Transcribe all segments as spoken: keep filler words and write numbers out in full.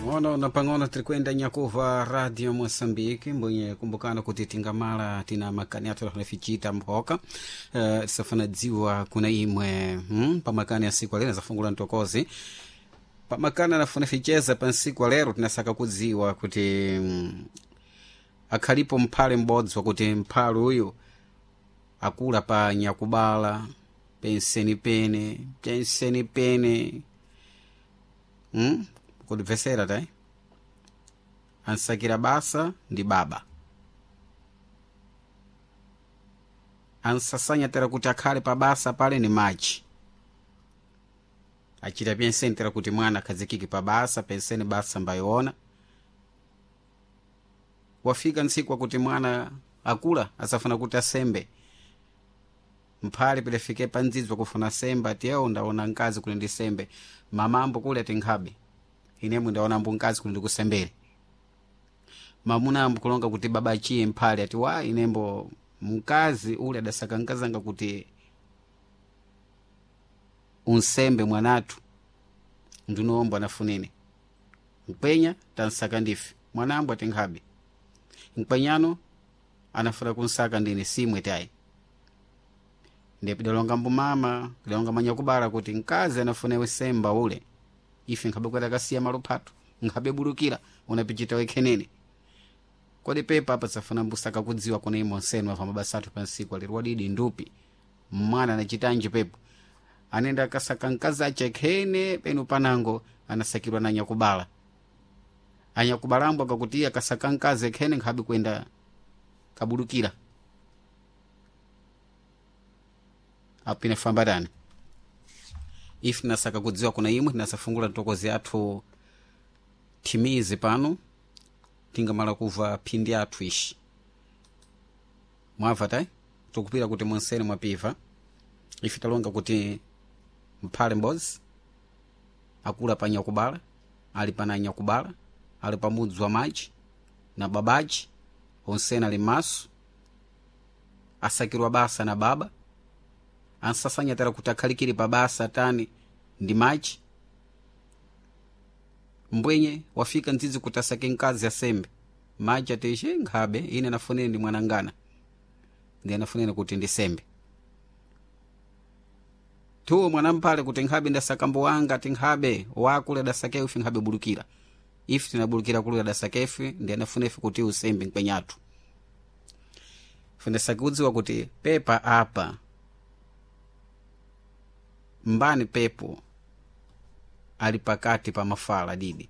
Pang'ono na pang'ono tirikwenda nyakuva Radio Moçambique, mbwenye kumbukana kuti tingamala tina makani athu alafichita mphoka uh, tisafana dziwa kuna imwe hmm? Pamakani asiku alero zafungula ntokozi pamakani anafuna ficheza pa nsiku alero tinasaka kudziwa kuti mm, akhalipo mphale m'bodzi wakuti mphale uyu akula pa nyakubala pensenipene pensenipene hmm? Kutibvesera tai ansakira basa ndi baba ansasanya tera kuti akhale pa basa pale ni machi achita penseni tera kuti mwana akhazikike pa basa penseni basa mbayiona wafika ntsiku wakuti mwana akula asafuna kuti asembe mphale pilafike pa ndzidzi wakufuna sembe ati ewo ndaona mkazi kuli ndi sembe mamambo kuli ati nkhabe inemwe ndaona mbu mkazi kuli ndikusembere mamuna ambu kulonga kuti baba achiye mphale ati wa inembo mkazi ule adasaka mkazanga kuti unsembe mwanathu ndinombo anafunene mkwenya tansaka ndife mwanambo ati nkhabe mkwenyano anafuna kunsaka ndine simwe tayi ndipo idalonga mbumama idalonga manyakubala kuti mkazi anafunewe semba ule ife nkhabe kweta kasiya malo phatu nkhabe bulukira unapichita wekhenene kodi pepa apa safuna mbusaka kudziwa kuna imo nsenu apa mabasa athu pansiku alero wadidi ndupi mwana anachitanji pepo anenda akasaka mkazi ache khene penu panango anasakirwa na anyakubala anyakubalambo akakuti iye akasaka mkazi ekhene nkhabe kwenda kabulukira apo inafamba tani ife tinasaka kudziwa kuna imwe tinasafungula ntokozi athu thimizi pano tingamala kuva phindi athu ishi mwamva tai tikupira kuti monsene mwapiva ife talonga kuti mphale m'bodzi akula pa nyakubala ali pana nyakubala ali pa mudzi wa maji na babaji onsene ali m'maso asakirwa basa na baba ansasanyatira kuti akhalikire pa basa tani ndi maji mbwenye wafika ndzidzi kuti asake mkazi asembe maji ati nkhabe ine anafunene ndi mwanangana ndi anafunene kuti ndisembe tuwo mwanamphale kuti nkhabe ndasaka mbo wanga ati nkhabe wakule adasake ife nkhabe bulukira ife tinabulukira kule adasake ife ndi anafuna ife kuti usembe mkwenyathu ife ndasake kuti pepa apa mbani pepo ali pakati pa mafala didi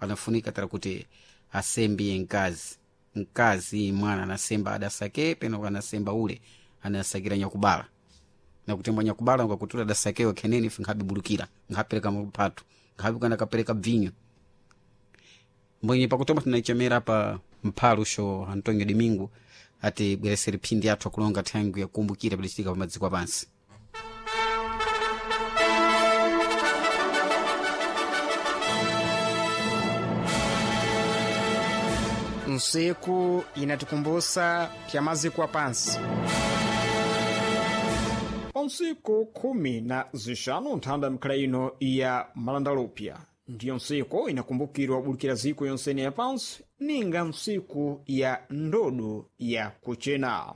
anafunika tara kuti asembiye mkazi mkazi mwana anasemba adasake peno anasemba ule anasakira nyakubala nakutemba nyakubala ngakutula adasakewe kheneni ife nkhabe bulukira nkhapereka maphatu nkhabe kana kapereka bvinyo mbwenye pakutoma tinaichemera pa mphalusho Antonio Domingo ati bweresere phindi athu akulonga thangu yakumbukira pilichitika pa madziko apansi. Nsiku inatikumbusa pya maziko apansi. Pansiku khumi na zixanu nthanda mikhala ino ya malandalupya ndiyo nsiku inakumbukirwa bulukira ziko yonsene ya pansi ninga nsiku ya ndodo ya kuchena.